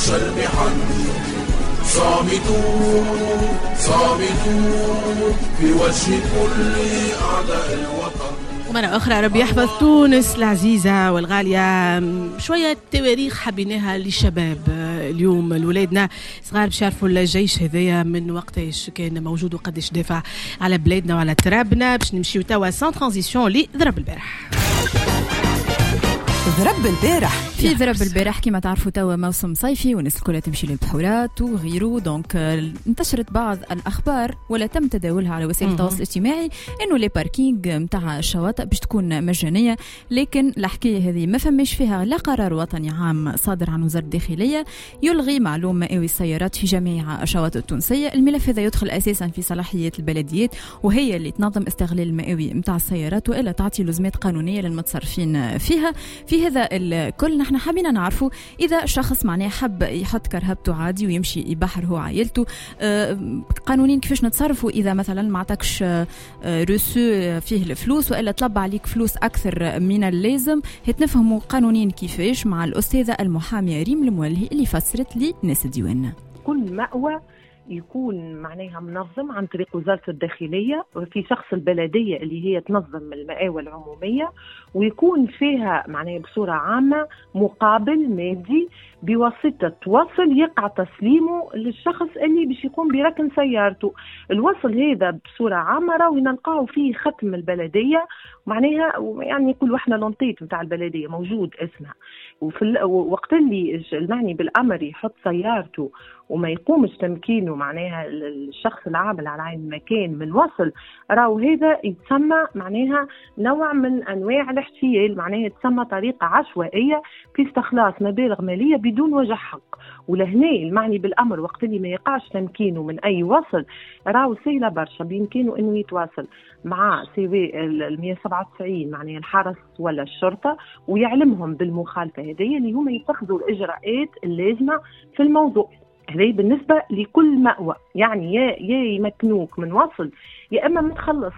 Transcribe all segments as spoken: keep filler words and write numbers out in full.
عرش المحن. صامدون صامدون في وجه كل أعداء الوطن. ومرة أخرى ربي يحفظ تونس العزيزة والغالية. شوية تواريخ حبيناها للشباب اليوم، لولادنا صغار باش يعرفوا الجيش هذايا من وقتاش كان موجود وقداش دافع على بلادنا وعلى ترابنا. باش نمشيو توا sans transition لضرب البارح. ضرب البارح في ضرب البارح كما تعرفوا توا موسم صيفي والناس الكل تمشي للبحورات وغيره، donc انتشرت بعض الاخبار ولا تم تداولها على وسائل التواصل الاجتماعي انه les parkings نتاع الشواطئ باش تكون مجانية، لكن الحكاية هذه ما فماش فيها لا قرار وطني عام صادر عن وزارة الداخلية يلغي معلوم مائوي السيارات في جميع الشواطئ التونسية. الملف هذا يدخل اساسا في صلاحيات البلديات وهي اللي تنظم استغلال المائوي نتاع السيارات والا تعطي لزمات قانونية للمتصرفين فيها. في هذا الكل نحن حابين نعرفوا إذا شخص معناه حب يحط كرهبته عادي ويمشي يبحر هو عائلته، قانونيا كيفاش نتصرفوا إذا مثلا ما عطاكش reçu فيه الفلوس وإلا طلب عليك فلوس أكثر من اللازم. هتنفهموا قانونيا كيفاش مع الأستاذة المحامية ريم المولهي اللي فسرت لي ناس الديوان. كل مأوى يكون معناها منظم عن طريق وزارة الداخلية وفي شخص البلدية اللي هي تنظم المآوى العمومية، ويكون فيها معناها بصورة عامة مقابل مادي بواسطة وصل يقع تسليمه للشخص اللي باش يقوم بركن سيارته. الوصل هذا بصورة عامة راهو نلقاو فيه ختم البلدية، معناها يعني كل واحدة l'en-tête نتاع البلدية موجود اسمها. وفي وقت اللي المعني بالأمر يحط سيارته وما يقومش تمكينه معناها الشخص العامل على عين المكان من وصل، راهو هذا يتسمى معناها نوع من أنواع الاحتيال، معناها يتسمى طريقة عشوائية في استخلاص مبالغ مالية بدون وجه حق. ولهنا المعني بالأمر وقت اللي ما يقعش تمكينه من أي وصل راهو سهلة برشا، بإمكانه أنه يتواصل مع سواء ال مية وسبعة وتسعين معناها الحرس ولا الشرطة ويعلمهم بالمخالفة هذه اللي هما يتخذوا الإجراءات اللازمة في الموضوع. هذه بالنسبة لكل مأوى، يعني يا يا يمكنوك من وصل يا إما ما تخلص.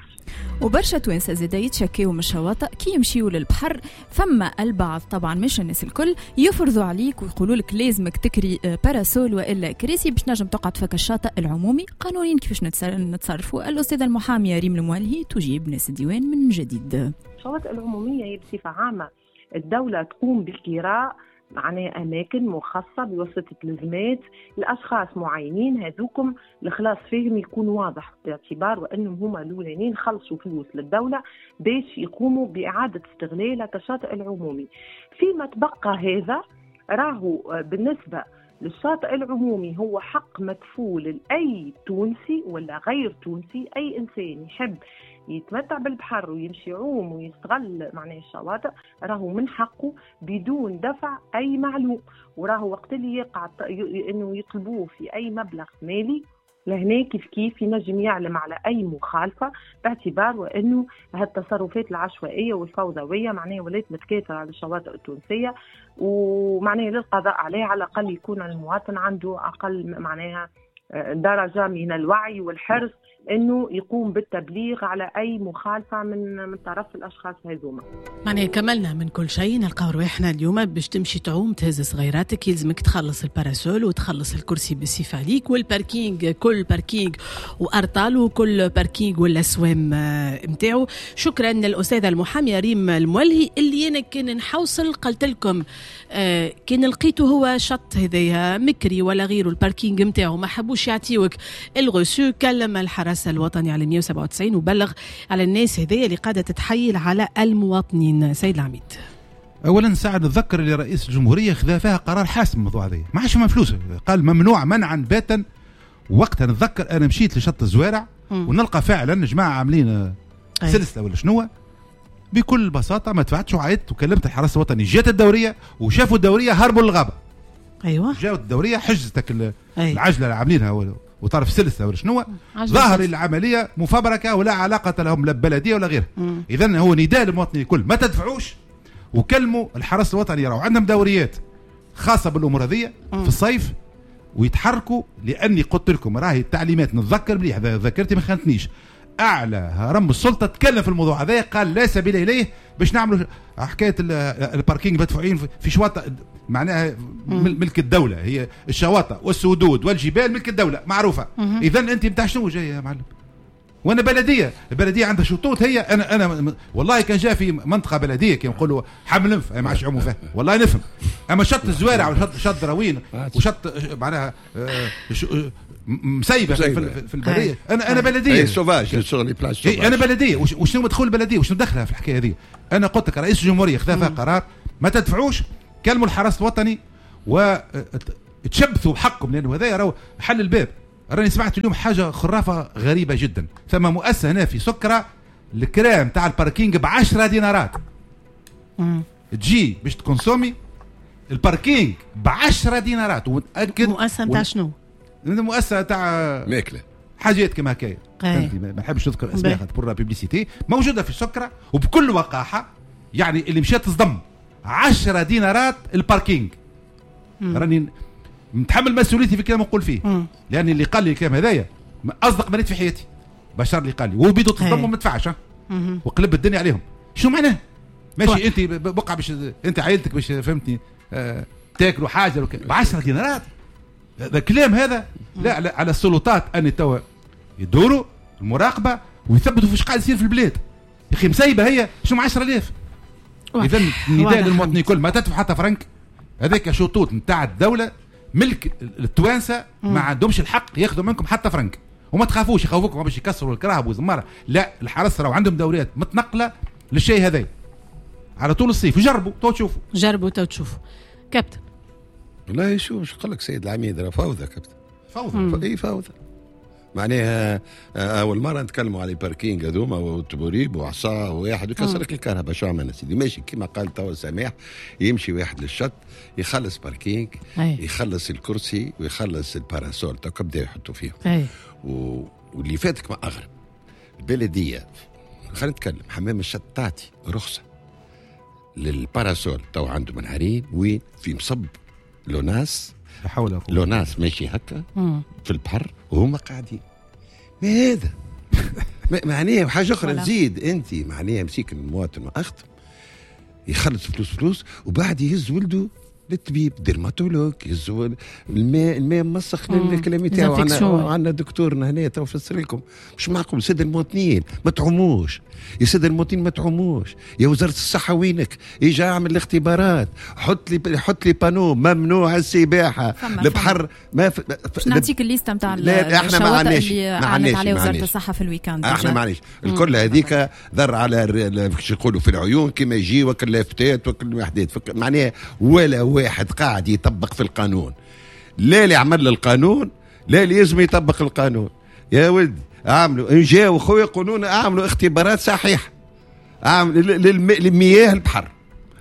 وبرشا توانسة زادا يتشكيو من الشواطئ كي يمشيو للبحر، فما البعض طبعا مش الناس الكل يفرضوا عليك ويقولوا لك لازمك تكري parasol والا كراسي باش نجم تقعد فك الشاطئ العمومي. قانونيا كيفاش نتصرفوا؟ الأستاذة المحامية ريم المولهي تجيب ناس الديوان من جديد. الشواطئ العمومية هي بصفة عامة الدولة تقوم بالكراء معناها أماكن مخصصة بواسطة لزمات لأشخاص معينين، هذوكم الخلاص فيهم يكون واضح باعتبار وأنهم هما الأولانيين خلصوا فلوس للدولة باش يقوموا بإعادة استغلال الشاطئ العمومي. فيما تبقى هذا راهو بالنسبة للشاطئ العمومي هو حق مكفول لأي تونسي ولا غير تونسي، أي إنسان يحب يتمتع بالبحر ويمشي يعوم ويستغل معناه الشواطئ راهو من حقه بدون دفع أي معلوم. وراهو وقت اللي يقع إنه يطلبوه في أي مبلغ مالي لهنا كيف كيف ينجم يعلم على أي مخالفة، باعتبار وأنه هالتصرفات العشوائية والفوضوية معناها ولات متكاثرة على الشواطئ التونسية، ومعناها للقضاء عليها على الأقل يكون المواطن عنده أقل معناها درجة من الوعي والحرص انه يقوم بالتبليغ على اي مخالفة من من طرف الاشخاص هذوما. معناها كملنا من كل شيء، نلقاو رواحنا اليوم باش تمشي تعوم تهز صغيراتك يلزمك تخلص ال parasol وتخلص الكرسي بالسيف عليك، وال parking كل parking وارطال وكل parking والاسوام نتاعو. شكرا للاستاذه المحاميه ريم المولهي اللي انا كان نحوصل قلت لكم آه كان لقيته هو شط هذايا مكري ولا غيره ال parking نتاعو ما حبوش يعطيوك ال reçu، كلم الحرس الوطني على مية وسبعة وتسعين وبلغ على الناس هذيا اللي قاعدة تتحيل على المواطنين. سيد العميد، اولا ساعة نتذكر اللي رئيس الجمهورية خذا فيها قرار حاسم الموضوع هذا، ما عادش فما فلوس، قال ممنوع منعا باتا. وقتها نتذكر انا مشيت لشط الزوارع ونلقى فعلا جماعة عاملين سلسلة ولا شنو، بكل بساطة ما دفعتش وعيطت وكلمت الحرس الوطني، جات الدورية وشافوا الدورية هربوا للغابه. ايوه جاوا الدورية حجزتك العجلة اللي عاملينها وطرف سلسلة ولا شنو، ظاهر العملية مفبركه ولا علاقة لهم لا ببلديه ولا غيرها. اذا هو نداء للمواطنين الكل ما تدفعوش وكلموا الحرس الوطني، راهو عندهم دوريات خاصة بالامور هذه في الصيف ويتحركوا. لاني قلت لكم راهي التعليمات نتذكر مليح، ذاكرتي ما خانتنيش، اعلى هرم السلطة تكلم في الموضوع هذا، قال لا سبيل اليه باش نعملوا حكاية ال parking مدفوعين في شواطئ معناها ملك الدولة، هي الشواطئ والسدود والجبال ملك الدولة معروفة. اذا انت نتاع شنو جاي يا معلم؟ وانا بلديه، البلدية عندها شطوط هي. انا انا والله كان جاء في منطقة بلديه كي نقولوا حمل انف ما عادش يعوموا فيها والله نفهم، اما شط الزوارع وشط شط دراوين وشط معناها مسيبه في, في البلدية. انا انا بلديه sauvage sur les plages، انا بلديه. وشنو مدخول البلدية وشنو دخلها في الحكاية هذه؟ انا قلت لك رئيس الجمهورية خذا فيها قرار ما تدفعوش، كلموا الحرس الوطني وتشبثوا بحقكم، لانه هذا راهو حل الباب. راني سمعت اليوم حاجة خرافه غريبة جدا، ثم مؤسسة هنا في سكره الكرام تاع ال parking بعشرة دينارات. مم. تجي باش ت consommer ال parking بعشرة دينارات. ومتاكد مؤسسة نتاع شنو؟ مؤسسة تاع ماكله حاجات كما هكايا، ما نحبش نذكر اسماء خاطر pour la publicité. موجودة في سكره وبكل وقاحه، يعني اللي مشات تصدم عشرة دينارات ال parking. مم. راني متحمل مسؤوليتي في كلام نقول فيه، مم. لان اللي قال لي الكلام هذايا اصدق مريت في حياتي، بشر اللي قال لي وبيدو تصدم وما دفعش وقلب الدنيا عليهم. شو معناه؟ ماشي انت بقع باش انت عائلتك باش فهمتني آه تاكلوا حاجة ب عشرة دينارات. هذا كلام هذا لا, لا على السلطات ان توا يدوروا المراقبة ويثبتوا فيش قاعد يصير في البلاد. يا اخي مسيبه هي شو عشرة آلاف. اذا النداء للمواطنين الكل ما تدفع حتى فرنك، هذاك شطوط نتاع الدولة ملك التوانسة، ما عندهمش الحق ياخذوا منكم حتى فرنك. وما تخافوش يخوفوكم باش يكسروا الكراهب وزماره، لا الحرس راهو عندهم دوريات متنقله للشيء هذا على طول الصيف. جربوا تو تشوفوا، جربوا تو تشوفوا. كابتن والله شو شو قال لك سيد العميد؟ راه فوضى كابتن، فوضى. اي فوضى معناها. اول مرة نتكلموا على parking هذوما والتبوريب وعصا وواحد يكسر لك الكهرباء. شو عملنا سيدي؟ ماشي كما قال توا سماح، يمشي واحد للشط يخلص parking، يخلص الكرسي ويخلص ال parasol تو بدا يحطوا فيهم. و... واللي فاتك ما اغرب البلدية، خلينا نتكلم حمام الشط تعطي رخصه لل parasol تو عنده منهارين وين في مصب l'ONAS، l'ONAS ماشي هكا في البحر وهما قاعدين. ما هذا معناها حاجة اخرى تزيد انت معناها مسيك المواطن واخت يخلص فلوس فلوس وبعد يهز ولده للطبيب dermatologue، يهز الماء الماء مسخ الكلام تاعو. عندنا عندنا دكتورنا هنا تو فسر لكم مش معقول. سيد المواطنين ما تعوموش يا سيد المواطنين، ما تعوموش يا وزارة الصحة وينك؟ اجا اعمل الاختبارات، حط لي حط لي panneau ممنوع السباحة البحر. ما ف... باش نعطيك الليستة نتاع الشواطئ اللي اعلنت عليها وزارة الصحة في ال week-end. احنا ما عندناش الكل هذيك ذر على كيش يقولوا في العيون كما يجي وكل لافتات وكل وحدات، معناها ولا واحد قاعد يطبق في القانون. لا اللي عمل القانون لا اللي لازم يطبق القانون. يا ولد اعملوا ان جاوا خويا قانون، اعملوا اختبارات صحيحه، اعمل للمياه البحر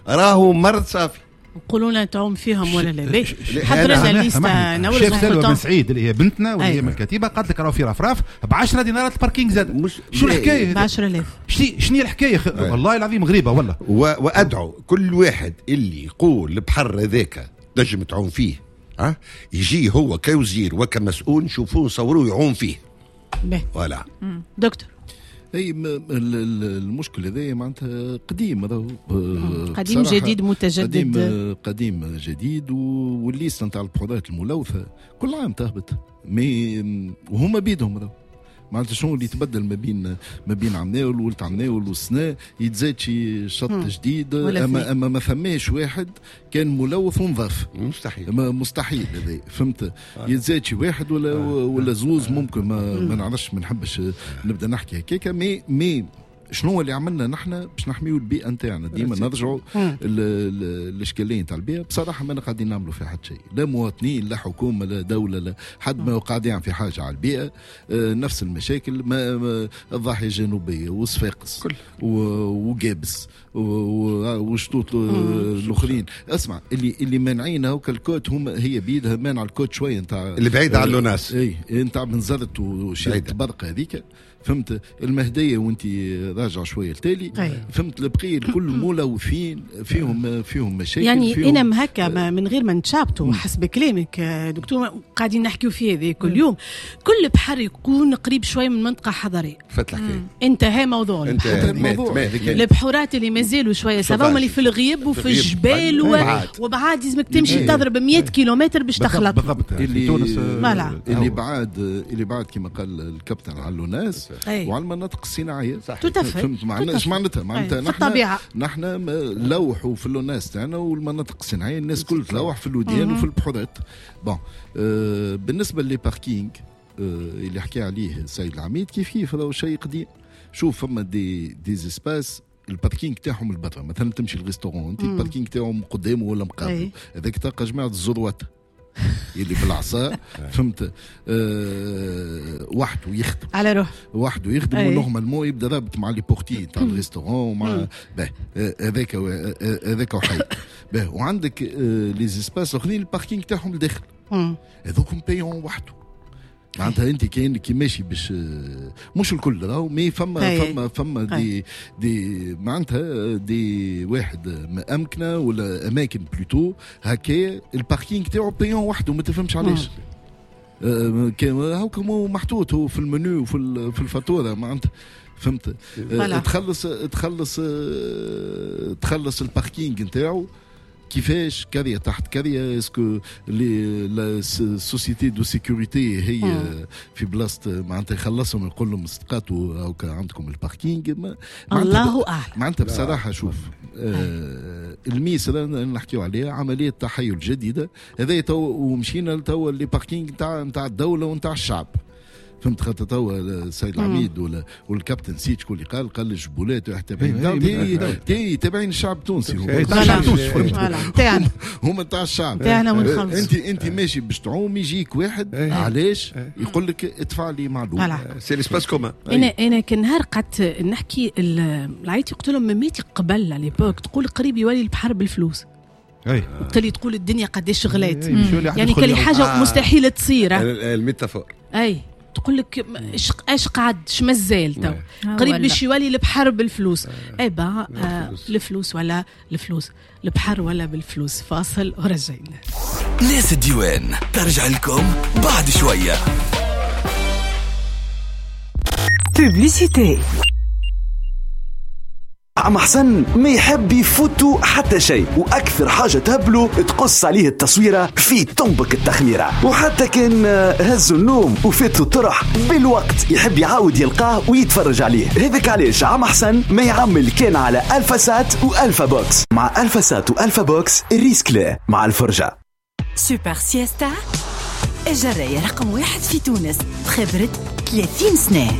راهو مرض صافي. نقولوا لنا تعوم فيهم ولا لا؟ حضر لنا ليستا نورس. شيف سلوى بن سعيد اللي هي بنتنا واللي هي من الكتيبة قالت لك راهو في رفراف ب عشرة دينارات ال parking زاد. شو الحكاية؟ ب عشرة آلاف. شنو هي الحكاية؟ والله العظيم غريبة والله. وادعو كل واحد اللي يقول البحر هذاك تنجم تعوم فيه، ها يجي هو كوزير وكمسؤول نشوفوه نصوروه يعوم فيه. voilà دكتور اي المشكل هذا معناتها قديم، راهو قديم جديد متجدد، قديم قديم جديد. وال liste نتاع البحورات الملوثة كل عام تهبط، mais وهما بيدهم راهو معناتها شنو اللي تبدل ما بين ما بين عمناول ولت عمناول والسنة يتزاد شي شط جديد. اما اما ما ثماش واحد كان ملوث ونظاف، مستحيل مستحيل هذا فهمت. يتزاد شي واحد ولا ولا زوز ممكن، ما, ما نعرفش، ما نحبش نبدا نحكي هكاكا. mais mais شنو اللي عملنا نحن باش نحميو البيئة نتاعنا؟ ديما نرجعوا الاشكالية نتاع البيئة. بصراحة ما قاعدين نعملوا في حد شيء، لا مواطنين لا حكومة لا دولة لا حد ما قاعد يعمل في حاجة على البيئة. نفس المشاكل، ما الضاحية الجنوبية وصفاقس وقابس وشطوط الاخرين. اسمع اللي اللي مانعين هوك ال côte، هم هي بيدها مانع ال côte شوية نتاع اللي بعيد على l'ONAS، اي نتاع بنزرت وشيرة برقه هذيك. فهمت المهدية وانت راجع شوية التالي، فهمت البقية الكل ملوثين فيهم فيهم مشاكل. يعني فيهم انا هكا من غير ما نتشابطوا حسب كلامك دكتور قاعدين نحكيو فيه هذا كل يوم، كل بحر يكون قريب شوية من منطقة حضريه. فات الحكاية، انتهى موضوع الموضوع. البحورات اللي مازالوا شوية ça va اللي في الغيب وفي الجبال وبعاد لازمك تمشي تضرب مية كيلومتر باش تخلط. بالضبط. اللي اللي بعد اللي بعد كما قال الكابتن على الناس وعلى المناطق الصناعية. فهمت معناتها ايش معناتها؟ معناتها نحن نحن لوحوا في الناس تاعنا والمناطق الصناعية، الناس كل تلوح في الوديان وفي البحورات. bon آه بالنسبة les parkings آه اللي حكى عليه السيد العميد كيف كيف هذا شيء قديم. شوف فما des des espaces ال parking تاعهم البرا، مثلا تمشي لل restaurant انت ال parking تاعهم قدامه ولا مقابله، هذاك تلقى جماعة الزروات اللي بالعصا، فهمت أه وحده يخدم على روح وحده يخدم، و normalement يبدا رابط مع les portiers تاع ال restaurant ومع باه هذاك هذاك وحي باه. وعندك أه les espaces الاخرين ال parking تاعهم لداخل، هذوكم payants وحده. معناتها انت كاين كي ماشي باش مش الكل راهو، mais فما فما فما des des معناتها des واحد امكنه ولا اماكن plutôt هكا ال parking تاعو payant وحده، ما تفهمش علاش. هاكا محطوط هو في المنيو وفي في الفاتورة معناتها، فهمت؟ تخلص تخلص تخلص ال parking نتاعو كيفاش كاريه تحت كاريه، est-ce que les la société de sécurité هي في بلاصة معناتها يخلصهم يقول لهم استقاتوا او عندكم ال parking. الله اعلم معناتها بصراحة. شوف آه الميس اللي نحكيو عليها عملية تحيل جديدة هذا تو، ومشينا لتو les parkings نتاع نتاع الدولة ونتاع الشعب، فهمت؟ خاطر توا السيد العميد ولا والكابتن سيد شكون اللي قال قال الجبولات تابعين تابعين الشعب التونسي، تاع الشعب التونسي هما تاع الشعب تاعنا ونخلص. انت انت ماشي باش تعوم يجيك واحد علاش يقول لك ادفع لي معلوم، c'est l'espace commun. انا انا كنهار قعدت نحكي العيط قلت لهم مماتي قبل à l'époque تقول قريب يولي البحر بالفلوس، وقت اللي تقول الدنيا قداش غلات، يعني كل حاجة مستحيلة تصير ال métaphore. اي تقول لك اش قعد اش مازال تو قريب باش يولي البحر بالفلوس. اي با آه الفلوس ولا الفلوس، البحر ولا بالفلوس. فاصل ورجعنا. ناس الديوان ترجع لكم بعد شوية. publicité. عم حسن ما يحب يفوتو حتى شيء، واكثر حاجة تهبلو تقص عليه التصويره في طنبك التخميره، وحتى كان هزو النوم وفاتو الطرح بالوقت يحب يعاود يلقاه ويتفرج عليه. هذاك علاش عم حسن ما يعمل كان على الفا سات والفا بوكس. مع الفا سات والفا بوكس ال risque لا مع الفرجة. سوبر سياستا الجرايه رقم واحد في تونس بخبره ثلاثين سنة.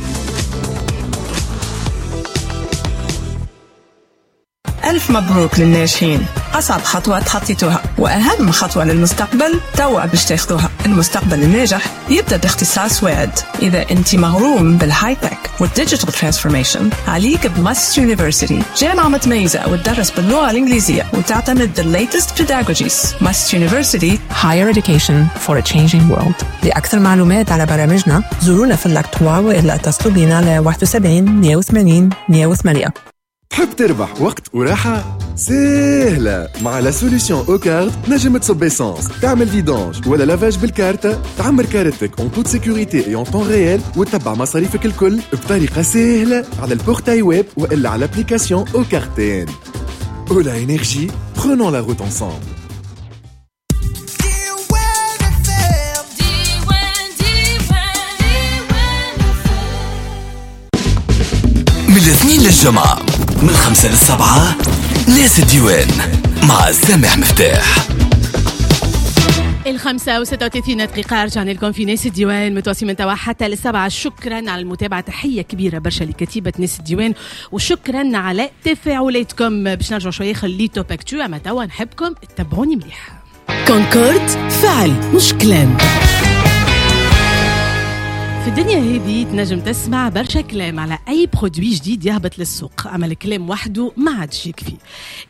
ألف مبروك للناجحين. أصعب خطوة تخطيتوها وأهم خطوة للمستقبل توا باش تاخذوها. المستقبل الناجح يبدأ باختصاص واعد. إذا أنت مغروم بال high-tech وال digital transformation عليك ب MUST University، جامعة متميزة وتدرس باللغة الإنجليزية وتعتمد the latest pedagogies. MUST University, Higher Education for a Changing World. لأكثر معلومات على برامجنا زورونا في اللاك ثلاثة وإلا اتصلوا بنا على واحد وسبعين مية وثمانين مية وثمانية. تحب تربح وقت وراحة؟ سهلة مع la solution Ocard. تنجم تصب essence، تعمل vidange ولا lavage بالكارتة، تعمر كارتك en toute sécurité et en temps réel، وتتبع مصاريفك الكل بطريقة سهلة على ال portail web والا على l'application Ocard T N. Ola Énergie, prenons la route ensemble. من الاثنين للجمعة من خمسة للسبعة ناس الديوان مع سامح مفتاح. الخمسة وستة وثلاثين دقيقة رجعنا لكم في ناس الديوان متواصلين من توا حتى للسبعة. شكرا على المتابعة، تحية كبيرة برشا لكتيبة ناس الديوان وشكرا على تفاعلاتكم. باش نرجع شوية خلي top actu، أما توا نحبكم تتبعوني مليح. كونكورد فعل مش كلام. في الدنيا هذه تنجم تسمع برشا كلام على اي produit جديد يهبط للسوق، اما الكلام وحده ما عادش يكفي.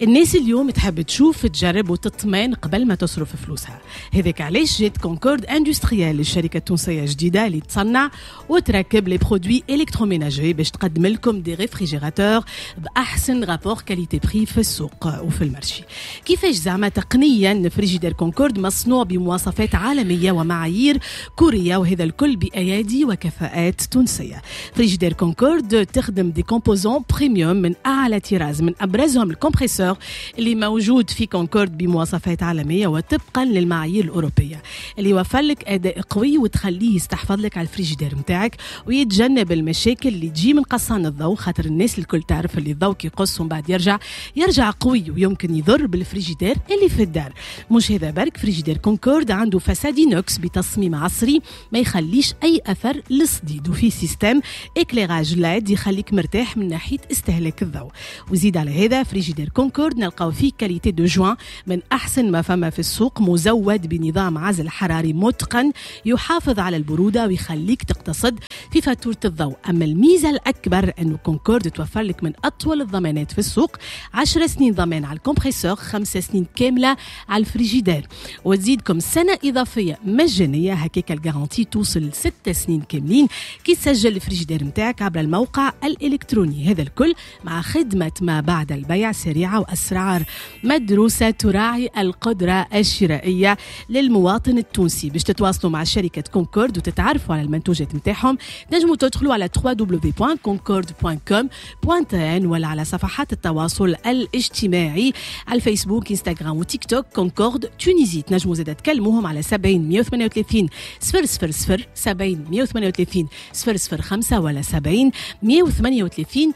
الناس اليوم تحب تشوف، تجرب وتطمن قبل ما تصرف فلوسها. هذاك علاش جات Concorde Industrielle، الشركة التونسية الجديدة اللي تصنع وتركب les produits électroménagers، باش تقدم لكم des réfrigérateurs باحسن rapport qualité prix في السوق وفي ال marché. كيفاش زعما؟ تقنيا frigidaire Concorde مصنوع بمواصفات عالمية ومعايير كوريه، وهذا الكل بايادي وكفاءات تونسيه. frigidaire Concorde تخدم des composants premium من اعلى طراز، من ابرزهم ال compresseur اللي موجود في كونكورد بمواصفات عالمية وطبقا للمعايير الاوروبيه، اللي يوفر لك اداء قوي وتخليه يستحفظ لك على الفريجيدير نتاعك ويتجنب المشاكل اللي تجي من قصان الضوء، خاطر الناس الكل تعرف اللي الضوء كي يقص ومن بعد يرجع يرجع قوي ويمكن يضر بالفريجيدير اللي في الدار. مش هذا برك، frigidaire Concorde عنده façade inox بتصميم عصري ما يخليش اي اثر للصديد، وفي système éclairage LED يخليك مرتاح من ناحية استهلاك الضوء. وزيد على هذا frigidaire Concorde نلقاو فيه qualité de joint من احسن ما فما في السوق، مزود بنظام عزل حراري متقن يحافظ على البرودة ويخليك تقتصد في فاتورة الضوء. اما الميزة الاكبر انه كونكورد توفر لك من اطول الضمانات في السوق، عشر سنين ضمان على ال compresseur، خمس سنين كاملة على الفريجيدير، وتزيدكم سنة اضافية مجانيه، هكاك ال garantie توصل لست سنين كاملين كي تسجل الفريجيدير نتاعك عبر الموقع الالكتروني. هذا الكل مع خدمة ما بعد البيع سريعة واسعار مدروسة تراعي القدرة الشرائية للمواطن التونسي. باش تتواصلوا مع شركة كونكورد وتتعرفوا على المنتوجات نتاعهم، تنجموا تدخلوا على دبليو دبليو دبليو دوت كونكورد دوت كوم دوت ان ولا على صفحات التواصل الاجتماعي على الفيسبوك، انستغرام وتيك توك Concorde Tunisie. تنجموا زاد تكلموهم على سبعين مية وثمانية وثلاثين صفر صفر صفر، سبعين مية وثمانية وثلاثين صفر صفر خمسة ولا سبعين مية وثمانية وثلاثين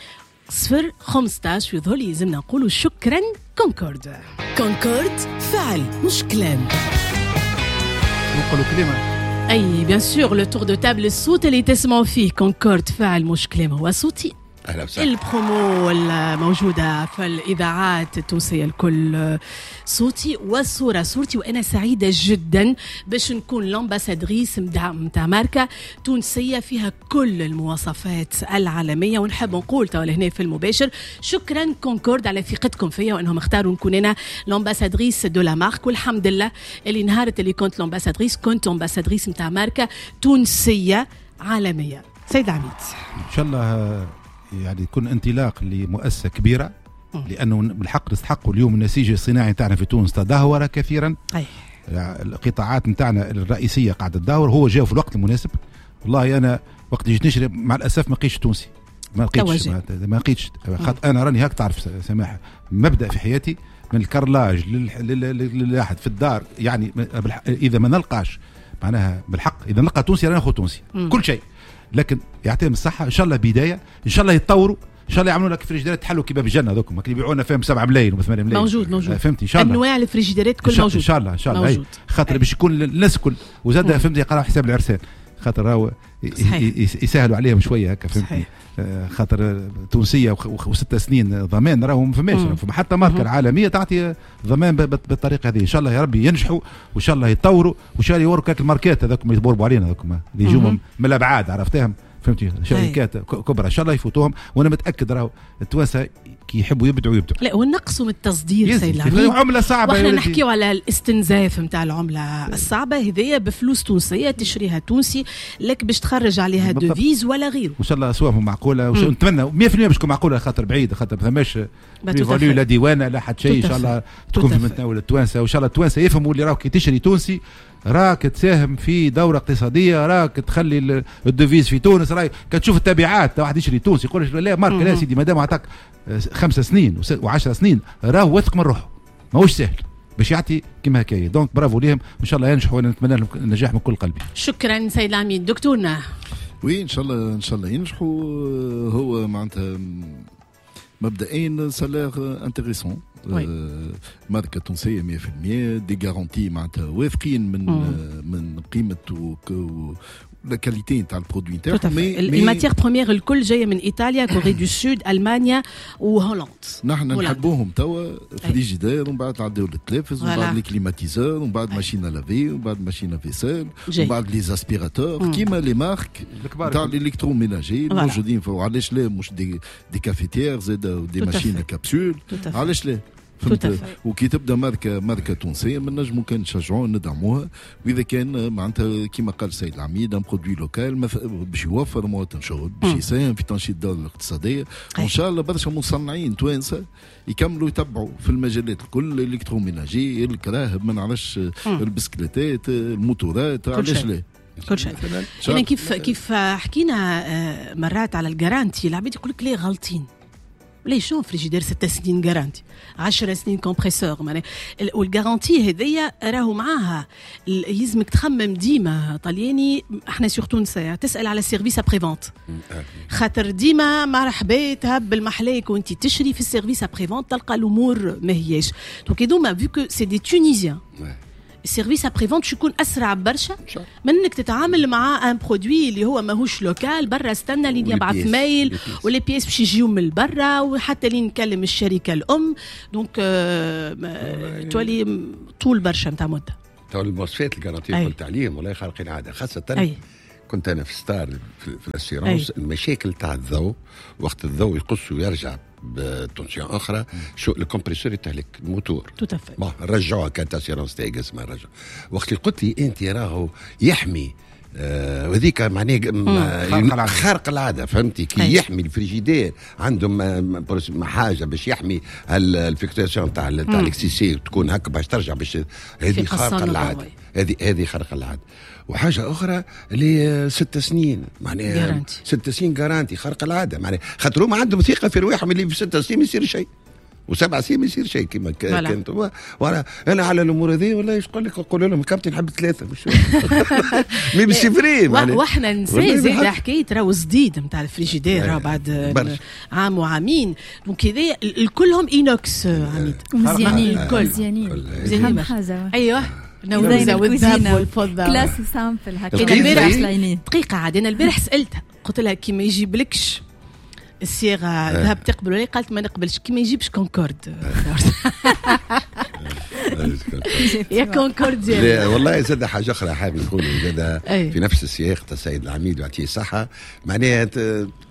صفر خمسطاش. ويظهر لي لازمنا نقولوا شكرا كونكورد. كونكورد فعل مش كلام. نقولوا كلمة اي bien sûr. le tour de table، الصوت اللي تسمعوا فيه كونكورد فعل مش كلام هو صوتي. اهلا وسهلا. البرومو الموجودة في الإذاعات التونسية الكل صوتي والصورة صورتي، وأنا سعيدة جدا باش نكون l'ambassadrice متاع ماركة تونسية فيها كل المواصفات العالمية. ونحب نقول توا هنا في المباشر شكرا كونكورد على ثقتكم فيا وأنهم اختاروا نكون أنا l'ambassadrice de la marque. والحمد لله اللي نهارت اللي كنت l'ambassadrice كنت ambassadrice متاع ماركة تونسية عالمية. سيد عميد، إن شاء الله يعني يكون انطلاق لمؤسسة كبيرة، لأنه بالحق نستحقوا اليوم النسيج الصناعي تاعنا في تونس تدهور كثيرا. أي. القطاعات نتاعنا الرئيسية قاعدة تدهور، هو جاء في الوقت المناسب. والله أنا وقت جيت نشري مع الأسف ما لقيتش تونسي، ما لقيتش ما لقيتش خاطر أنا راني هاك تعرف سماحة مبدأ في حياتي من ال carrelage للاحد في الدار، يعني إذا ما نلقاش معناها بالحق إذا نلقى تونسي راني ناخذ تونسي كل شيء. لكن يعطيهم الصحة، إن شاء الله بداية، إن شاء الله يتطوروا، إن شاء الله يعملوا لك فريجيديرات تحلوا كباب الجنة هذوك اللي يبيعونا فيهم سبعة ملايين و ثمانية ملايين. موجود موجود، فهمتي؟ إن شاء الله أنواع الفريجيديرات كل موجود إن شاء الله إن شاء الله، خاطر باش يكون الناس الكل وزاد فهمتي يقراو حساب العرسان، خاطر راهو يسهلوا عليهم شوية هكا فهمتني، خاطر تونسية وست سنين ضمان راهو ما فماش حتى ماركة العالمية تعطي ضمان بالطريقة هذه. إن شاء الله يا ربي ينجحوا وإن شاء الله يتطوروا وإن شاء الله يوروا كاك الماركات هذوك اللي يبوربوا علينا هذوك اللي يجوا من الأبعاد عرفتهم فهمتي، شركات كبرى إن شاء الله يفوتوهم. وأنا متأكد راهو التوانسة كي يحبوا يبدعوا يبدعوا. لا ونقصوا من التصدير سيد العميد، عملة صعبة، واحنا نحكيو على الاستنزاف نتاع العملة الصعبة هذيا بفلوس تونسية تشريها تونسي لك باش تخرج عليها devise ولا غيره. وإن شاء الله أسواقهم معقولة، ونتمنى مية بالمية باش تكون معقولة، خاطر بعيد، خاطر ما ثماش لا ديوانة لا حتى شيء. إن شاء الله تكون في متناول التوانسة، وإن شاء الله التوانسة يفهموا اللي راهو كي تشري تونسي راك تساهم في دورة اقتصادية، راك تخلي ال devise في تونس، راك كتشوف التبعات. واحد يشري تونسي يقول لا ماركة لا سيدي، ما دام عطاك خمسة سنين وعشر سنين راهو واثق من روحه، ماهوش سهل باش يعطي كيما هكايا. donc bravo ليهم، ان شاء الله ينجحوا، وانا نتمنى لهم النجاح من كل قلبي. شكرا سيد العميد. دكتورنا، oui ان شاء الله ان شاء الله ينجحوا. هو معناتها مبدئيا ça a l'air intéressant، ماركة تونسية مية بالمية، des garanties معناتها واثقين من مم. من قيمة و la qualité نتاع ال produit نتاعهم. ال matières premières الكل جاية من ايطاليا، Corée du Sud، المانيا وهولندا. نحن نحبوهم توا فريجيدير، ومن بعد نعديو للتلفز، ومن بعد les climatiseurs، ومن بعد machine à laver، ومن بعد machine à vaisselle، ومن بعد les aspirateurs، كيما les marques نتاع l'électroménager الموجودين. وعلاش لا مش des des cafetières زاد، des machines à capsules، علاش لا؟ فهمت؟ وكي تبدا ماركة ماركة تونسية ما نجمو كان نشجعوها ندعموها، واذا كان معناتها كيما قال السيد العميد un produit local باش يوفر مواطن شغل، باش يساهم في تنشيط الدولة الاقتصادية، وان شاء الله برشا مصنعين توانسة يكملوا يتبعوا في المجالات الكل، l'électroménager، الكراهب، ما نعرفش، البسكليتات، الموتورات، علاش لا؟ كل شيء. يعني كيف كيف حكينا مرات على ال garantie، العباد يقول لك ليه غلطين، ليه شو فريجيدير ست سنين garantie، عشر سنين compresseur معناها. وال garantie هذيا راهو معاها يلزمك تخمم ديما طلياني، احنا surtout نساء تسال على service après-vente، خاطر ديما مرحبا تهبل محلاك وانت تشري في ال service après-vente تلقى الامور ما هياش. donc هذوما vu que c'est des Tunisiens، ال service après-vente يكون اسرع برشا من انك تتعامل مع un produit اللي هو ماهوش local برا، استنى لين يبعث mail و les pièces باش يجيو من برا، وحتى لين نكلم الشركة الام، donc آه تولي طول برشا نتاع مده. تو المواصفات ال garantie قلت عليهم والله خارقين العادة، خاصة أي. كنت انا في ستار في, في ال assurance، المشاكل تاع الضوء وقت الضوء يقص ويرجع ب tension اخرى، شو ال compresseur يتهلك ال moteur. tout à fait. bon رجعوها، كانت assurance تاعي اسمها رجع. وقت اللي قلت لي انت راهو يحمي آه وهذيك معناها خارق العادة، فهمتي؟ كي يحمي الفريجيدير عندهم حاجة باش يحمي ال fluctuation تاع تاع l'électricité تكون هكا باش ترجع باش هذه خارقة العادة، هذه هذه خارقة العادة. وحاجه اخرى اللي ست سنين معناها ست سنين garantie خارقة العادة، معناها خاطر هما عندهم ثقة في رواحهم اللي في ست سنين ما يصير شيء وسبع سنين ما يصير شيء كما كانت. وانا انا على الامور هذه والله ايش نقول لك، نقول لهم كابتن نحب ثلاثة مش mais c'est vrai. واحنا نسى زاد حكاية راهو جديد نتاع الفريجيدير راه بعد عام وعامين، donc هذا الكلهم inox عميد مزيانين الكل مزيانين مزيانين حاجة. ايوه نوزة والذهب والفضة classe simple هكا. البارح دقيقة عاد انا البارح سالتها قلت لها كي ما يجيبلكش الصيغة ذهب تقبل ولا؟ قالت ما نقبلش كي ما يجيبش كونكورد. يا كونكورد. لا والله زاد حاجة اخرى حابب نقول زاد في نفس السياق تاع السيد العميد ويعطيه الصحة، معناها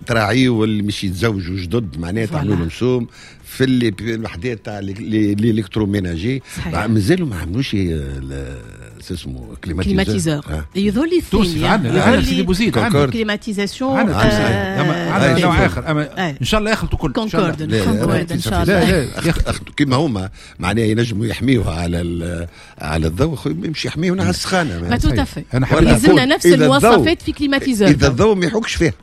تراعيوا واللي مش يتزوجوا جدد، معناها تعملوا لهم سوم في اللي الوحدات تاع l'électroménager، مازالوا ما عملوش اسمه climatiseur. يظهر لي الثاني عندنا سيدي بوزيد عندنا climatisation عندنا نوع اخر، اما ان شاء الله يخلطوا كل كونكورد كونكورد ان شاء الله. لا لا كيما هما معناها ينجموا يحميوها على على الضوء، يمشي يحميونا على السخانه. ما tout à fait، لازمنا نفس المواصفات في climatiseur، اذا الضوء ما يحكش فيها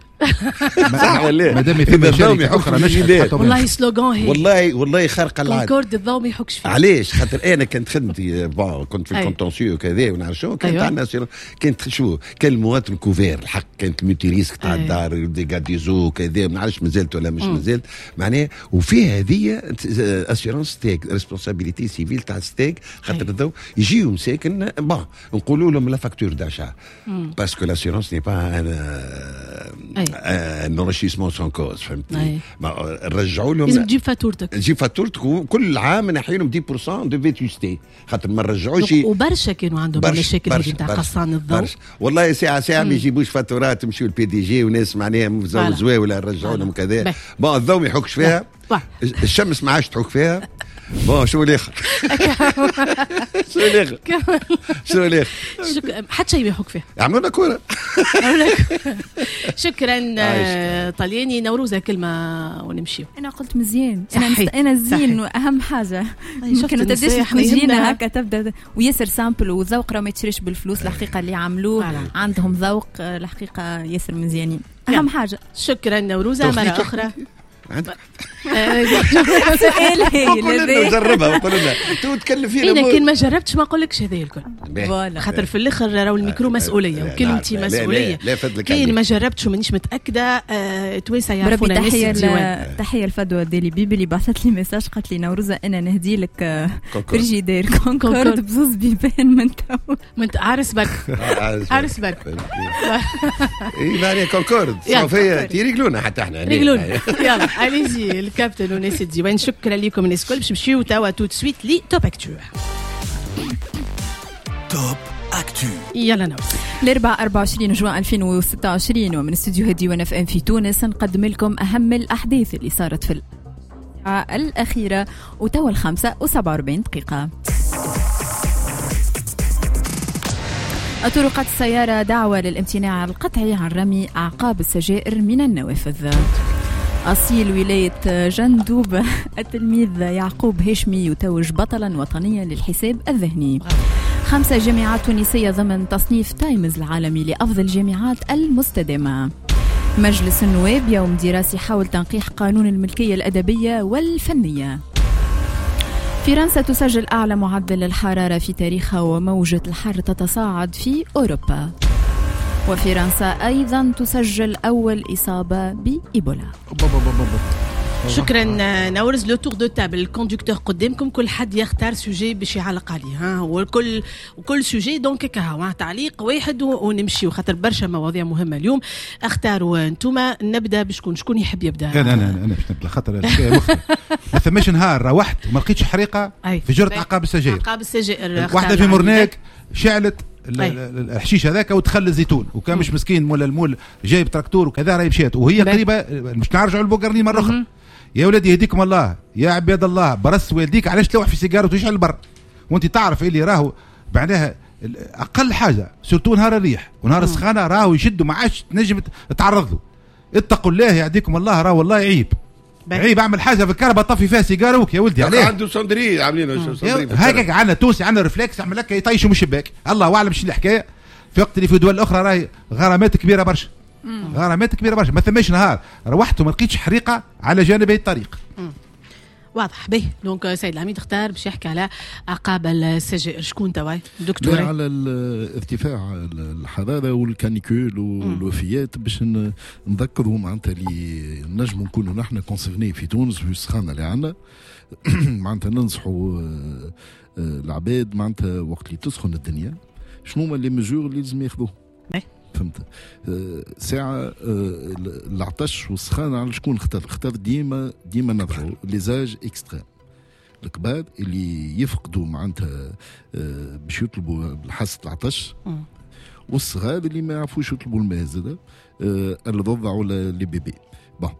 صح ولا؟ ما دام في شركة اخرى نجحت والله slogan هي والله والله خارقة العادة، كونكورد الضوء ما يحكش فيه. علاش؟ خاطر انا كانت خدمتي bon كنت في ال contentieux وكذا ونعرف شو كانت عندنا، كانت شو كان المواطن couvert الحق، كانت ال multirisque تاع الدار dégât des eaux كذا ما نعرفش مازالت ولا مش مازالت معناها. وفي هذه assurance ستيك responsabilité civile تاع ستيك، خاطر الضوء يجيو مساكن bon نقولوا لهم la facture d'achat parce que l'assurance n'est pas un enrichissement sans cause، فهمتني؟ نرجعوا لهم لازم تجيب فاتورتك، تجيب فاتورتك وكل عام نحي لهم عشرة بالمية de vétusté خاطر ما نرجعوش. وبرشا كانوا عندهم مشاكل هذه نتاع قصان الضوء والله ساعة ساعة ما يجيبوش فاتورات، يمشيو ال PDG وناس معناها مزوزوا ولا نرجعوا لهم كذا. bon الضوء ما يحكش فيها، الشمس ما عادش تحك فيها. bon شو الاخر؟ شو الاخر؟ شو الاخر؟ حتى شيء ما يحك فيها. عملوا لنا كورة. شكرا طلياني. نوروزه كلمة ونمشيو. انا قلت مزيان، انا انا زين واهم حاجة ممكن ما تبداش الكوجينه هكا تبدا وياسر simple وذوق راه ما يتشريش بالفلوس الحقيقة اللي عملوه عندهم ذوق الحقيقة ياسر مزيانين اهم حاجة. شكرا نوروزه مرة اخرى. عندك سؤال هايل. جربها وقول لنا تو تكلم فينا. انا كان ما جربتش ما نقولكش هذا الكل، خاطر في الاخر راهو الميكرو مسؤولية وكلمتي مسؤولية. كان ما جربتش ومانيش متاكدة توانسة يعرفونا الناس الديوان. تحية لفدوى ديلي بيبي اللي بعثت لي message قالت لي نوروزه انا نهدي لك frigidaire Concorde بزوز بيبان من تو من عارس برك عارس برك. اي معناها كونكورد صوفيا تيريقلونا حتى احنا ريقلونا. يلا allez-y الكابتن وناس الديوان، شكرا لكم الناس الكل. باش نمشيو توا tout de suite ل Top Actu. Top Actu يلا نوصل الأربعاء أربعة وعشرين جوان ألفين وستة وعشرين، ومن استوديو ديوان اف ام في تونس نقدم لكم اهم الاحداث اللي صارت في الأخيرة وتوا الخمسة وسبعة وأربعين دقيقة. الطرقات السيارة دعوة للامتناع القطعي عن رمي أعقاب السجائر من النوافذ. أصيل ولاية جندوب التلميذ يعقوب هاشمي يتوج بطلا وطنيا للحساب الذهني. خمسة جامعات تونسية ضمن تصنيف تايمز العالمي لأفضل جامعات المستدامة. مجلس النواب يوم دراسي حول تنقيح قانون الملكية الأدبية والفنية. فرنسا تسجل أعلى معدل للحرارة في تاريخها وموجة الحر تتصاعد في أوروبا. وفرنسا أيضا تسجل أول إصابة بإيبولا. شكرا نورز. le tour de table ال conducteur قدامكم، كل حد يختار sujet باش يعلق عليه، ها وكل وكل sujet donc كهو تعليق واحد ونمشي، وخاطر برشا مواضيع مهمة اليوم. اختاروا انتوما، نبدا بشكون؟ شكون يحب يبدا؟ انا انا انا باش نبدا خاطر ما ثماش نهار روحت وما لقيتش حريقة في جرة عقاب السجائر. عقاب السجائر واحدة في مرناك شعلت الحشيش هذاك ودخل الزيتون، وكان مش مسكين مول المول جايب تراكتور وكذا راهي مشات وهي قريبه. مش نرجعوا للبوقرنين مرة اخرى. يا ولادي يهديكم الله، يا عباد الله، برس والديك علاش تلوح في سيجارة وتشعل البر وانت تعرف اللي راهو معناها اقل حاجة surtout نهار الريح ونهار السخانه راهو يشدوا ما عادش تنجم تتعرض له. اتقوا الله يهديكم الله، راه والله عيب عيب. اعمل حاجة في الكهرباء طفي فيها سيجاروك يا ولدي. عليه عنده cendrier عاملينه cendrier هكاك عندنا تونسي عندنا réflexe عمل لك يطيشوا من الشباك، الله اعلم شنو الحكاية. في وقت اللي في دول اخرى راهي غرامات كبيرة برشا، غرامات كبيرة برشا. ما ثماش نهار روحت وما لقيتش حريقة على جانبي الطريق. مم. واضح به. donc سيد العميد اختار باش يحكي على عقاب السجائر. شكون توا دكتور؟ على ارتفاع الحرارة وال canicule والوفيات باش نذكروا معناتها اللي نجموا نكونوا نحن concernés في تونس في السخانه اللي عندنا. معناتها ننصحوا العباد معناتها وقت اللي تسخن الدنيا شنو هما les mesures اللي لازم ياخذوه. فهمت؟ ساعة العطش والسخانة على شكون اختار؟ اختار ديما ديما نرجعوا les âges extrêmes، الكبار اللي يفقدوا معناتها باش يطلبوا حاسة العطش، والصغار اللي ما يعرفوش يطلبوا الماء زاد، الرضع ولا les bébés. bon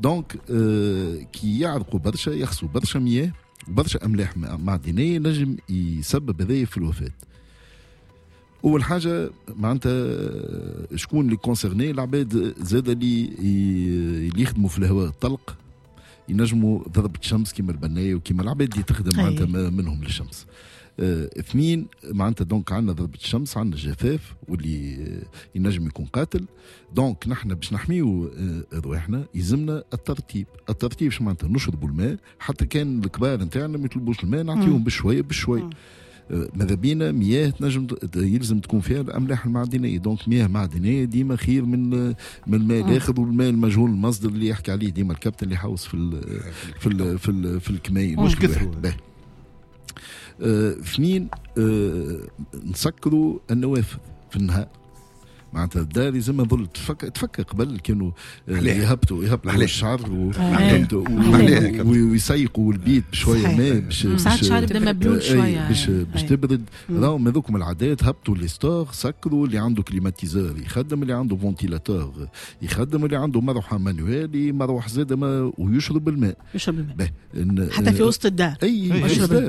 donc كي يعرقوا برشا يخسوا برشا مياه برشا املاح معدنية نجم يسبب هذايا في الوفاة. اول حاجة معناتها شكون اللي concernés؟ العباد زاد اللي اللي يخدموا في الهواء الطلق ينجموا ضربه الشمس كيما البناية وكيما العباد اللي تخدم معناتها منهم للشمس. اه اثنين معناتها donc عندنا ضربه الشمس، عندنا جفاف واللي ينجم يكون قاتل. donc نحن باش نحميو رواحنا يلزمنا الترتيب. الترتيب شو معناتها؟ نشربوا الماء حتى كان الكبار نتاعنا ما يطلبوش الماء نعطيهم بشوية بشوية. ماذا بينا مياه تنجم يلزم تكون فيها الاملاح المعدنية، donc مياه معدنية ديما خير من من الماء الاخر والماء المجهول المصدر اللي يحكي عليه ديما الكابتن اللي حوس في ال في ال في, ال في الكماين. مش كثروا. اثنين آه نسكروا النوافذ في النهار. معناتها الدار لازم نظل تفكر تفكر قبل كانوا يهبطوا يهبطوا الشعر ويسيقوا البيت بشوية ماء باش ساعات الشعر يبدا مبلول شوية باش باش تبرد. راهم هذوكم العادات، هبطوا les stores، سكروا، اللي عنده climatiseur يخدم، اللي عنده ventilateur يخدم، اللي عنده مروحة manuelle مروح زاد ويشرب الماء. يشرب الماء حتى في وسط الدار. اي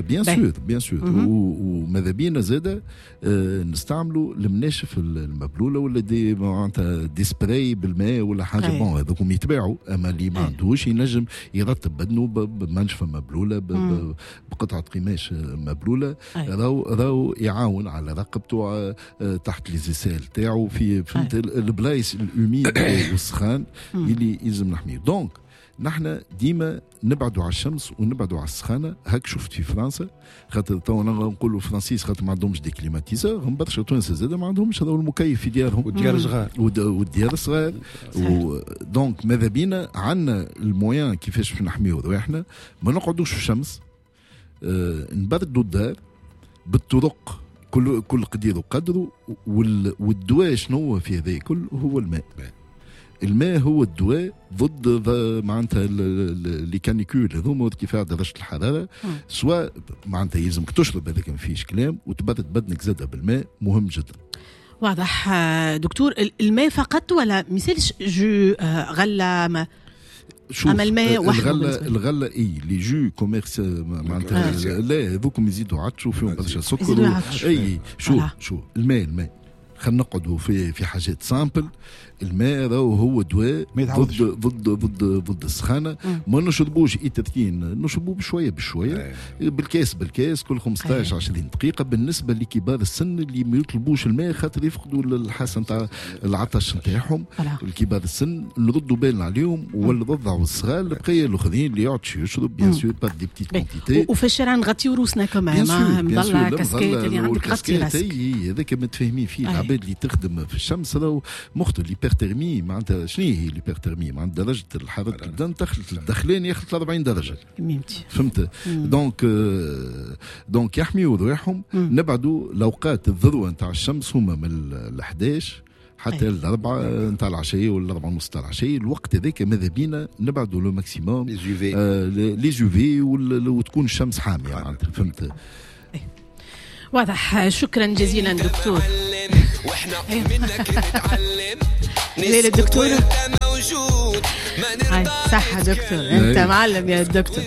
bien sûr bien sûr. وماذا بينا زاد نستعملوا المناشف المبلوله ولا des معناتها des sprays بالماء ولا حاجة. bon هذوكم يتباعوا، اما اللي ما عندوش ينجم يرتب بدنه بمنشفه مبلوله بقطعه قماش مبلوله، راهو راهو يعاون على رقبته تحت les aisselles تاعو في فهمت البلايص ال humides والسخان اللي يلزم نحمية. donc نحن ديما نبعدوا على الشمس ونبعدوا على السخانه. هاك شفت في فرنسا، خاطر تو نقولوا فرنسيس خاطر ما عندهمش des climatiseurs، هم برشا تونس زاد ما عندهمش هذا المكيف في ديارهم، والديار صغار والديار صغار. donc ماذا بينا عندنا ال moyens كيفاش باش نحميو رواحنا، ما نقعدوش في الشمس، آه نبردوا الدار بالطرق، كل كل قدير وقدره. والدواء شنو في هذا كل؟ هو الماء. الماء هو الدواء ضد معناتها les canicules هذوما وارتفاع درجه الحرارة. سواء معناتها يلزمك تشرب، هذاك ما فيش كلام، وتبرد بدنك زاده بالماء، مهم جدا. واضح دكتور. الماء فقط ولا مثالش jus غله؟ ما شوف أما الماء وحده الغلة، الغلة اي les jus commerce معناتها لا، هذوكم يزيدوا عطشوا فيهم برشا سكر. اي شوف شوف الماء، الماء خلينا نقعدوا في في حاجات simples. الماء راهو هو دواء ضد ضد ضد ضد السخانه. ما نشربوش ايترتين، نشربوه بشوية بشوية، بالكاس بالكاس كل خمسطاش عشرين دقيقة. بالنسبة لكبار السن اللي ما يطلبوش الماء خاطر يفقدوا الحاسة نتاع العطش نتاعهم، الكبار السن نردوا بالنا عليهم، والرضع والصغار البقية الاخرين اللي يعطش يشرب bien sûr par des petites quantités. وفي الشارع نغطيو روسنا كمان، مظلة كاسكيت اللي عندك غطي راسك. هذاك متفاهمين فيه العباد اللي تخدم في الشمس راهو مخطر. l'hyperthermie معناتها شنو هي l'hyperthermie؟ معناتها درجه الحرارة البدن تخلط الدخلين يخلط أربعين درجه. فهمت؟ donc donc يحميوا رواحهم. نبعدوا الاوقات الذروة نتاع الشمس هما من ال احداش حتى الأربعة نتاع العشية ولا الأربعة ونص نتاع العشية. الوقت هذاك ماذا بينا نبعدوا le maximum les UV وتكون الشمس حامية معناتها. فهمت؟ واضح. شكرا جزيلا دكتور. واحنا منك نتعلم. ليلة الدكتور صح دكتور، انت معلم يا دكتور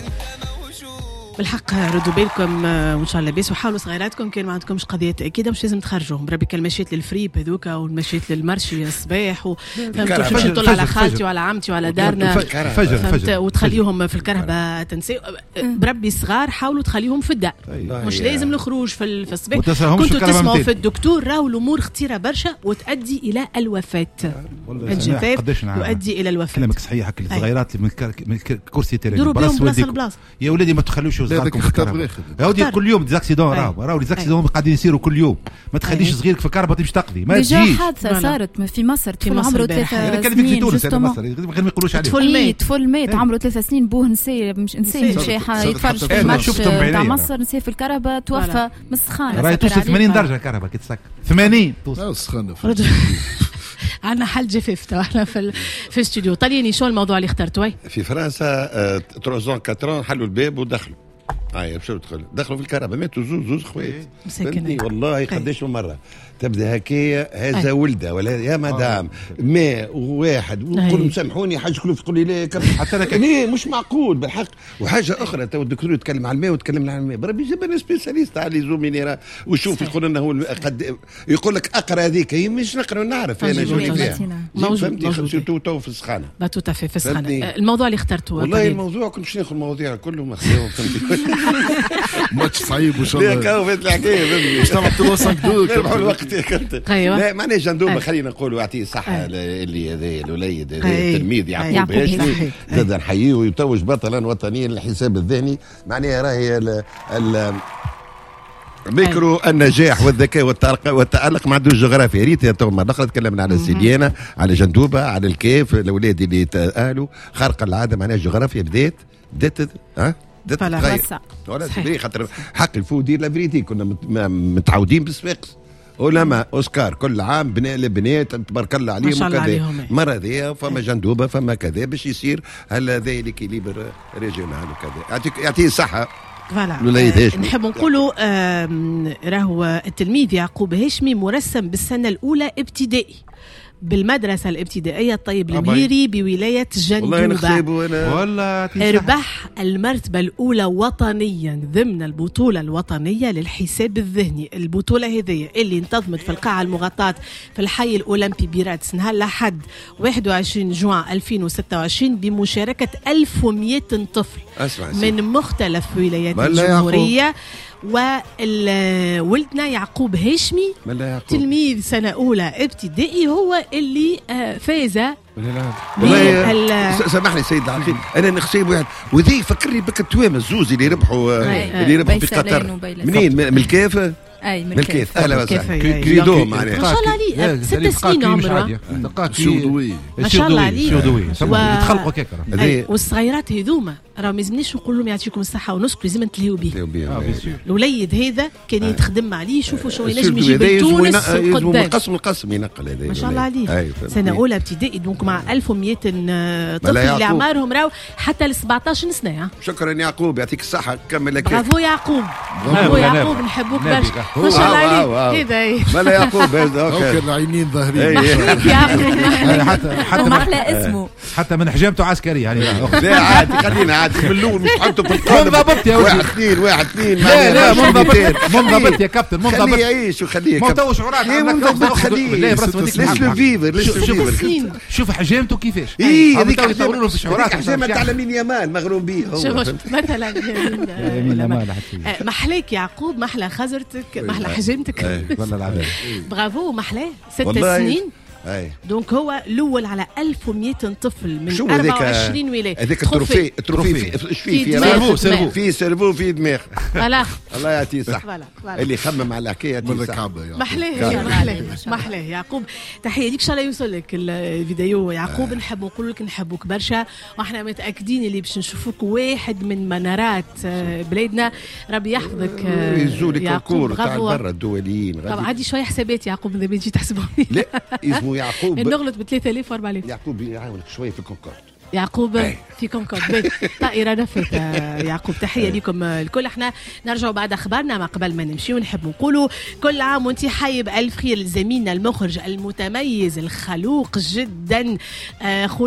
بالحق. ردوا بالكم وان شاء الله لاباس، وحاولوا صغيراتكم كان ما عندكمش قضية اكيدة مش لازم تخرجوهم. بربي كان مشيت للفريب هذوك والمشيت لل marché الصباح و فهمت تمشي تطل على خالتي وعلى عمتي وعلى دارنا فجر فجر وتخليهم في الكرهبه تنسي. بربي الصغار حاولوا تخليهم في الدار، مش لازم الخروج في الصباح. كنتوا تسمعوا في الدكتور راهو الامور خطيرة برشا وتؤدي الى الوفاة. الجفاف يؤدي الى الوفاة. كلامك صحيح. الصغيرات من الكرسي تاعي يا ولادي ما تخلوش يا ودي كل يوم des accidents، راهو راهو les accidents قاعدين يصيروا كل يوم. ما تخليش صغيرك في الكرهبه تمشي تقضي، ما تجيش. حادثه صارت في مصر، طفل عمره ثلاث سنين. في تونس انا مصر غير ما يقولوش عليه. طفل مات، طفل مات عمره ثلاث سنين، بوه نسي مش نسي مشى يتفرج في الماتش تاع مصر، نسي في الكرهبه توفى من السخانه. راهي توصل ثمانين درجه الكرهبه كي تسكر ثمانين توصل السخانه. عندنا حل جفاف تو احنا في في الاستوديو. طليني شو الموضوع اللي اخترته؟ في فرنسا ثلاثة أربعة حلوا الباب ودخلوا. هاي باش دخلوا دخلوا في الكهرباء ماتوا زوز زوز خوات. والله قداش من مرة تبدا هكايا هذا ولده ولا يا مدام ماء وواحد ونقول سامحوني حاجة كلوف تقول لي لا حتى انا ليه مش معقول بالحق. وحاجه اخرى تو الدكتور يتكلم على الماء وتكلم على الماء بربي جاب لنا spécialiste على les eaux minérales وشوف يقول لنا هو قد يقول لك اقرا هذيك هي مش نقرا ونعرف انا شنو فيها موجود surtout تو في السخانه tout à fait في السخانه. الموضوع اللي اخترته والله الموضوع كنت باش ناخذ المواضيع كلهم خذوهم فهمتي ماتش صعيب وان شاء الله لا كاو فات الحكاية باش تعمل ثلاثة خمسة اثنين نربحوا الوقت يا كابتن. لا معناها جندوبه خلينا نقولوا يعطيه الصحة اللي هذا الوليد هذا التلميذ يعقوب هاشمي زاد نحييه ويتوج بطلا وطنيا للحساب الذهني. معناها راهي ال ميكرو النجاح والذكاء والتألق ما عندوش جغرافيا. ريت يا تو مرة تكلمنا على سيديانا على جندوبه على الكيف الاولاد اللي تأهلوا خارق العادة. معناها الجغرافيا بدات بدات ها بدات تتغير ولا c'est خاطر حق الفو دير la vérité كنا متعودين بالصفاقس علماء اوسكار كل عام بناء البنات تبارك الله عليهم وكذا. مرة ذي فما جندوبه فما كذا باش يصير هل هذا l'équilibre régional وكذا. يعطيك يعطيه الصحة voilà. نحب نقولوا راهو التلميذ يعقوب هاشمي مرسم بالسنة الاولى ابتدائي بالمدرسة الابتدائية الطيب المهيري بولاية جندوبة. والله ربح المرتبة الأولى وطنيا ضمن البطولة الوطنية للحساب الذهني. البطولة هذه اللي انتظمت في القاعة المغطاة في الحي الأولمبي بيراتس نهار الأحد واحد وعشرين جوان ألفين وستة وعشرين بمشاركة ألف ومئة طفل من مختلف ولايات الجمهورية. وولدنا يعقوب هاشمي تلميذ سنة أولى ابتدائي هو اللي فاز والله سامحني سيد العقيد، انا نخسيب واحد وذي فكرني بك التوامه الزوز اللي ربحوا اللي ربحوا في قطر. منين؟ من الكاف؟ اي من الكاف. اهلا وسهلا كريدو معناها ما شاء الله عليه ست سنين عمره. ما شاء الله عليه يتخلقوا كيك. والصغيرات هذوما راه ما يلزمنيش نقول لهم يعطيكم الصحة ونسكت، لازم نتلهيو به. الوليد هذا كان يتخدم عليه، شوفوا شو ينجم يجيب تونس قدام. القسم القسم ينقل هذا ما شاء الله عليه. سنة اولى ابتدائي donc مع ألف ومئة طفل اللي اعمارهم راهو حتى ل سبعطاش سنة. شكرا يعقوب، يعطيك الصحة، كمل لك. برافو يعقوب، برافو يعقوب، نحبوك برشا. ما شاء الله عليك. هذا مالا يعقوب هذا العينين ظاهرين. حتى حتى محلى اسمه، حتى من حجامته عسكري يعني. لا عادي، خلينا عادي من الاول مش تحطه في القالب. منضبط يا واحد اثنين واحد اثنين. لا لا منضبط منضبط يا كابتن، منضبط. خليه يعيش وخليه. ما تو شعورات منضبط، خليه. laisse-le vivre، laisse-le vivre. شوف حجامته كيفاش. اي هذيك يطوروا له في شعورات. حجامة تاع لامين يامال مغروم به هو. شوف مثلا يمين محلاك يعقوب، محلى خزرتك، محلى حجامتك. والله العظيم برافو، محلاه ست سنين. أي. donc هو الاول على ألف ومئة طفل من أربعة وعشرين ولاية. هذاك ال trophée ال trophée في في cerveau cerveau في cerveau في دماغ. voilà الله يعطيه الصحة اللي خمم على الحكاية يعطيه الصحة. محلاه محلاه محلاه يعقوب، تحية ليك، ان شاء الله يوصل لك الفيديو يعقوب. نحب نقول لك نحبوك برشا، واحنا متاكدين اللي باش نشوفوك واحد من منارات بلادنا. ربي يحفظك يزولك ال concours تاع برا الدوليين. طبعا عندي شوية حسابات يعقوب اذا تجي تحسبهم. لا اسمه يعقوب نغلط ب ثلاثة آلاف و أربعة آلاف. يعقوب يعاونك شوية في كونكورد. يعقوب في كونكورد طائرة نفت. يعقوب تحية لكم الكل. احنا نرجع بعد اخبارنا، ما قبل ما نمشي ونحب نقولوا كل عام وانت حي بألف خير لزميلنا المخرج المتميز الخلوق جدا.